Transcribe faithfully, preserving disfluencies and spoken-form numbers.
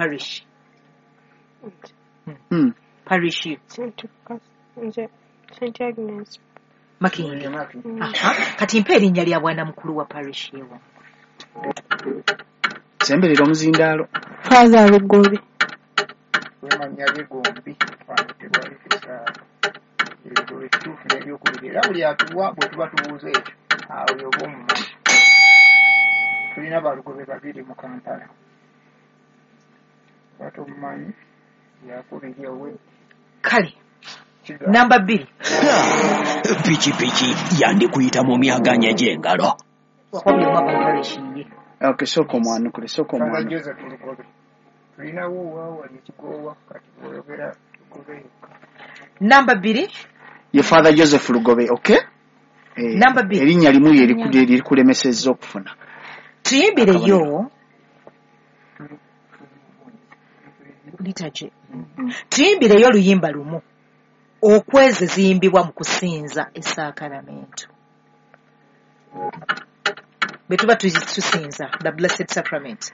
Parish? Hmm. Parish yo? Saint nze Saint Agnes. Makindye. Aha. Kati mpa erinnya lya bwana mukulu wa parish yewa. Semberera omuzindaalo. Father Lugobe. Wemanya ge gombi wano tewali kusaaga. Ebigobe ekituufu n'ebyokubiri, era buli atuwa bwe tuba tubuuza ekyo, awo yoba omumanyi. Tulina balugobe babiri mu Kampala, oba tomumanyi yakubiri owe. Kale namba bbiri. Pikipiki yandikuyita mu myaganya gy'engalo. Buli omu ava mu parish ye. Okay, sooka omwanukule, sooka Father omwanukule. Joseph Lugobe. Tulinawo waawali ekigoowa, kati bw'oyogera Lugobe yokka. Namba bbiri. Ye Father Joseph Lugobe, okay? Eh, Namba bbiri. Erinnya limu lye liku- lye likulemesezza okufuna. Tuyimbireyo liturgy. Tuyimbireyo oluyimba lumu okwezi ziyimbibwa mu kusinza esaakaramentu bwe tuba tuzi- tusinza the Blessed Sacrament.